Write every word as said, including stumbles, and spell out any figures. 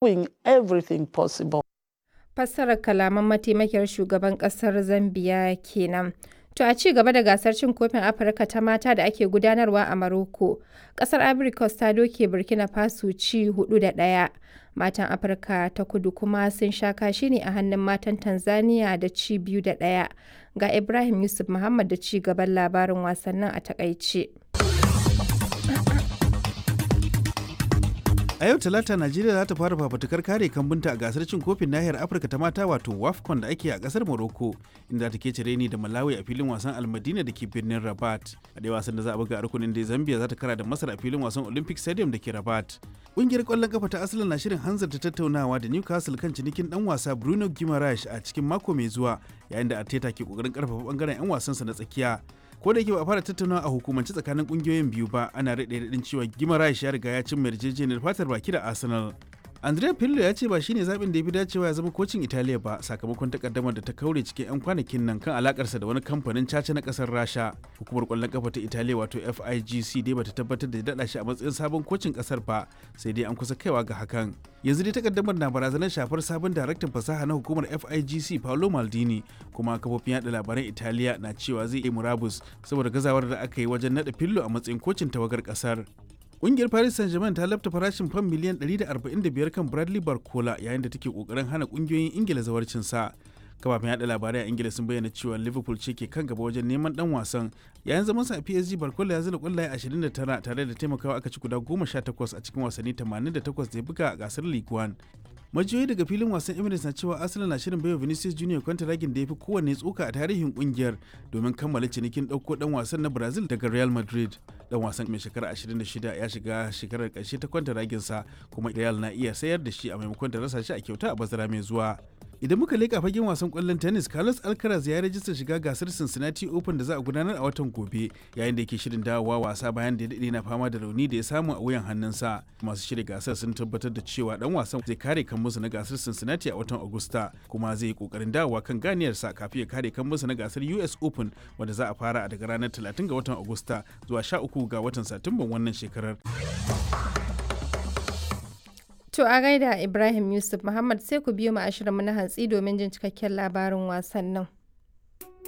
Doing everything possible. Fassarar kalaman mataimakiyar shugaban kasar Zambiya kenan. To a ci gaba da gasar cin kofin Afirka ta mata da ake gudanarwa a Maroko, kasar Ivory Coast ta doke Burkina Faso ci hudu da ɗaya. Matan Afirka ta kudu kuma sun sha kashi ne a hannun matan Tanzania da ci biyu da ɗaya. Ga Ibrahim Yusuf Muhammad da ci gaban labarin wasannin a takaice. A yau Talata Najeriya za ta fara fafutukar kare kambunta a gasar cin kofin nahiyar Afirka ta mata wato WAFCON da ake a kasar Morocco inda ta kece reni da Malawi a filin wasan Almadina da ke birnin Rabat. A ɗaya wasan da za a buga a rukunin da Zambia za ta kara da Masar a filin wasan Olympic Stadium da ke Rabat. Ƙungiyar ƙwallon kafa ta Arsenal na shirin hanzarta tattaunawa da Newcastle kan cinikin ɗan wasa Bruno Guimaraes a cikin mako mai zuwa yayin da Arteta ke ƙoƙarin ƙarfafa ɓangaren 'yan wasansa na tsakiya. Ko da yake ba a fara tattaunawa a hukumance tsakanin kungiyoyin biyu ba, ana rade radin cewa Guimaraes ya riga ya cimma yarjejeniyar fatar baki da Arsenal. Andrea Pirlo ya ce ba shine zaɓin da ya fi dacewa ya zama kocin Italiya ba sakamakon takaddamar da ta kaure cikin 'yan kwanakin nan kan alakarsa da wani kamfanin caca na ƙasar Rasha. Hukumar ƙwallon kafa ta Italiya wato F I G C dai bata tabbatar da daɗa shi a matsayin sabon kocin ƙasar ba, sai dai an kusa kaiwa ga hakan. Yanzu dai takaddamar na barazanar shafar sabon daraktan fasaha na hukumar F I G C Paolo Maldini, kuma kafofin yaɗa labaran Italiya na cewa zai yi murabus saboda gazawar da aka yi wajen naɗa Pirlo a matsayin kocin tawagar ƙasar. Ƙungiyar Paris Saint-Germain ta lafta farashin fam miliyan ɗari da arba'in da biyar kan Bradley Barcola yayin da take kokarin hana ƙungiyoyin Ingila zawarcin sa. Kafafen yada labarai a Ingila sun bayyana cewa Liverpool ce ke kan gaba wajen neman dan wasan. Yayin zaman sa a P S G, Barcola ya zira kwallaye ashirin da tara tare da taimakawa aka ci guda goma sha takwas a cikin wasanni tamanin da takwas da ya buga a gasar Ligue one. Majiyoyi daga filin wasan Emirates na cewa Arsenal na shirin baiwa Vinicius Junior kwantaragin da ya fi kowanne tsoka a tarihin kungiyar domin kammala cinikin ɗauko ɗan wasan na Brazil daga Real Madrid. Dan wasan mai shekara ashirin da shida ya shiga shekarar ƙarshe ta kwantaraginsa, kuma Real na iya sayar da shi a maimakon ta rasa shi a kyauta a bazara mai zuwa. Idan muka leƙa fagen wasan ƙwallon tennis, Carlos Alcaraz ya rajista shiga gasar Cincinnati Open da za a gudanar a watan gobe yayin da yake shirin dawowa wasa bayan da ya daɗe na fama da rauni da ya samu a wuyan hannunsa. Masu shirya gasar sun tabbatar da cewa dan wasan zai kare kan musu na gasar Cincinnati a watan Agusta, kuma zai yi kokarin dawowa kan ganiyarsa kafin ya kare kan musu na gasar U S Open wanda za a fara daga ranar talatin ga watan Agusta zuwa sha uku ga watan Satumban wannan shekarar. To a gaida Ibrahim Yusuf Muhammad, sai ku biyo mu a shirinmu na hantsi domin jin cikakken labarin wasannin.